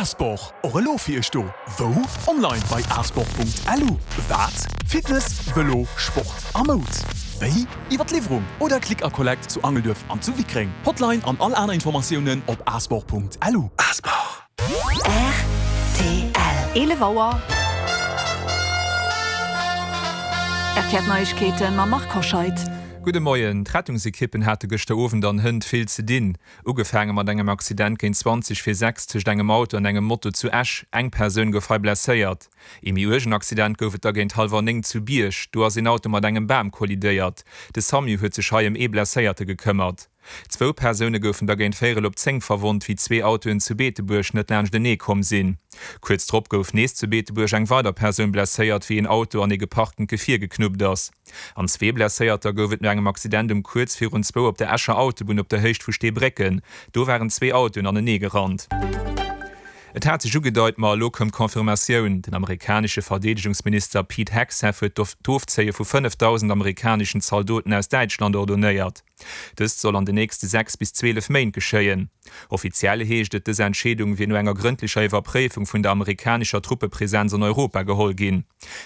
Asport, och elo fir iech do. Wou? Online bei asport.lu. Wat? Fitness, Vëlo, Sport a Moud. Wéi? Iwwer d'Liwwerung oder Click a Collect zu Angelduerf an zu Wickreng. Hotline an all aner Informatiounen op asport.lu. Asport. Rtl. 11 Auer. RTL Neiegkeeten mam Marc Hoscheid. Gudde Moien. D'Rettungsekippen hate gëschter Owend an Hënt vill ze dinn. Ugefaange mat engem Accident géint 20 vir 6 tëscht engem Auto an engem Moto zu Esch. Eng Persoun gouf hei blesséiert. Ee méi uergen Accident gouf et da géint hallwer 9 zu Bierg. Do ass een Auto mat engem Bam kollidéiert. De Samu huet sech hei ëm ee Blesséierte gekëmmert. Zwou Persoune goufen da géint véierel op 10 verwonnt, wéi zwee Autoen zu Beetebuerg net laanschtenee komm sinn. Kuerz drop gouf nees zu Beetebuerg eng weider Persoun blesséiert, wéi een Auto an ee geparktent Gefier geknuppt ass. An zwee Blesséierter gouf et no engem Accident um kuerz virun zwou op der Escher Autobunn op der Héicht vu Steebrécken. Do waren zwee Autoen anenee gerannt. Et hat sech ugedeit, ma elo koum d'Confirmatioun, Den amerikanesche Verdeedegungsminister Pete Hegseth huet d'Ofzéie vu 5.000 amerikaneschen Zaldoten aus Däitschland ordonéiert. Dëst soll an de nächste 6 bis 12 Méint geschéien. Offiziell heescht et, dës Entscheedung wier no enger grëndlecher Iwwerpréifung vun der amerikanescher Truppepresenz an Europa geholl ginn.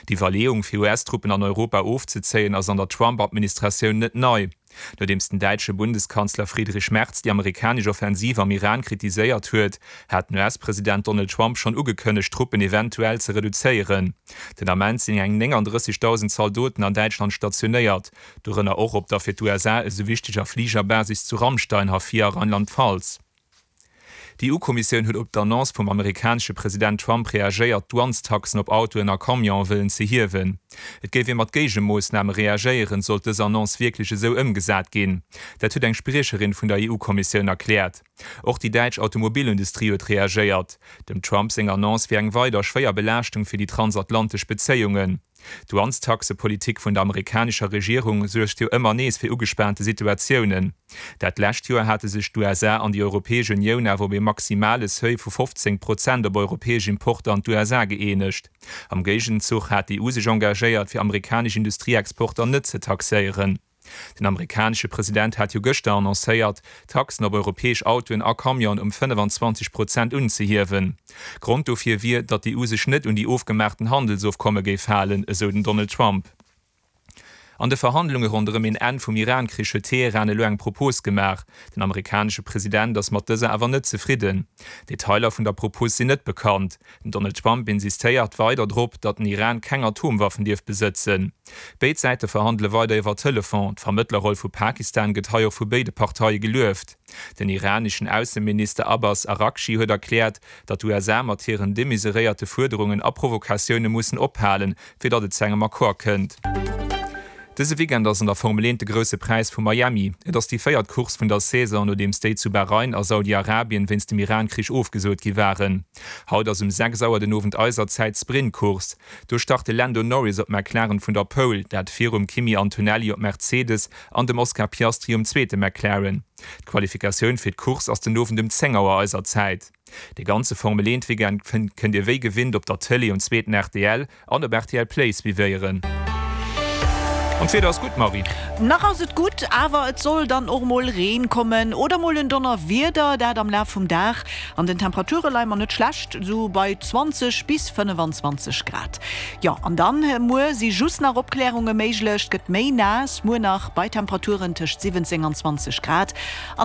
D'Iwwerleeung, fir US-Truppen an Europa ofzezéien, ass an der Trump-Administratioun net nei. Nodeems den däitsche Bundeskanzler Friedrich Merz déi amerikanesch Offensiv am Iran kritiséiert huet, hat den US-President Donald Trump schonn ugekënnegt, d'Truppen eventuell ze reduzéieren. Den Ament sinn eng 39.000 Zaldoten an Däitschland stationéiert. Dorënner och op der fir d'USA esou wichteger Fligerbasis zu Ramstein, Hafia, Rheinland-Pfalz. D'EU-Kommissioun huet op d'Annonce vum amerikanesche President Trump reagéiert, d'Douanestaxen op Autoen a Camionen wëllen ze hiewen. Et géif ee mat Géigemoossname reagéieren, sollt dës Annonce wierklech esou ëmgesat ginn. Dat huet eng Spriecherin vun der EU-Kommissioun erkläert. Och déi däitsch Automobilindustrie huet reagéiert. Dem Trump seng Annonce wier eng weider schwéier Belaaschtung fir déi transatlantesch Bezéiungen. D'Douanestaxepolitik vun der amerikanescher Regierung suergt jo ëmmer nees fir ugespaante Situatiounen. Dat lescht Joer hate sech d'USA an déi Europäesch Unioun awer op ee maximale Seuil vu 15 Prozent op europäesch Importer an d'USA gëeenegt. Am Géigenzuch hat d'EU sech engagéiert, fir amerikanesch Industrieexporter net ze taxéieren. Den amerikanesche President hat jo gëschter annoncéiert, d'Taxen op europäesch Autoen a Camionen ëm 25 Prozent unzehiewen. Grond dofir wier, datt d'EU sech net un déi ofgemaachten Handelsofkomme géif halen, esou den Donald Trump. An de Verhandlunge ronderëm een Enn vum Iran-Krich huet Teheran elo eng Propos gemaach. Den amerikanesche President ass mat dëser awer net zefridden. Detailer vun der Propos sinn net bekannt. Den Donald Trump insistéiert weider drop, datt den Iran keng Atomwaffen dierf besëtzen. Béid Säite verhandele weider iwwer Telefon. D'Vermëttlerroll vu Pakistan gëtt hei och vu béide Parteie gelueft. Den iraneschen Ausseminister Abbas Araghchi huet erkläert, datt d'USA mat hiren demesuréierte Fuerderungen a Provokatioune mussen ophalen, fir datt et zu engem Accord kënnt. Dëse Weekend ass an der Formel 1 de Grousse Präis vu Miami. Et ass déi véiert Course vun der Saison, nodeems déi zu Bahrain a Saudi-Arabien wéinst dem Iran-Krich ofgesot gi waren. Haut ass um 6 Auer den Owend eiser Zäit d'Sprint-Course. Do start de Lando Norris op McLaren vun der Pole, dat virum Kimi Antonelli op Mercedes an dem Oscar Piastri um zweete McLaren. D'Qualifikatioun fir d'Course ass den Owend um 10 Auer eiser Zäit. De ganze Formel 1 Weekend kënnt Dir wéi gewinnt op der Tëlee um zweeten rtl an op rtl Play suivéieren. An d'Wieder ass gutt, Marie. Nach ass et gutt, awer et soll dann och mol Reen kommen oder mol en Donnerwieder, dat am Laf vum Dag. An den Temperature leie mer net schlecht, sou bei 20 bis 25 Grad. Jo, an dann muer si just nach Opklärunge méiglech, et gëtt méi naass, muer nach bei Temperaturen tëscht 17 an 20 Grad. An.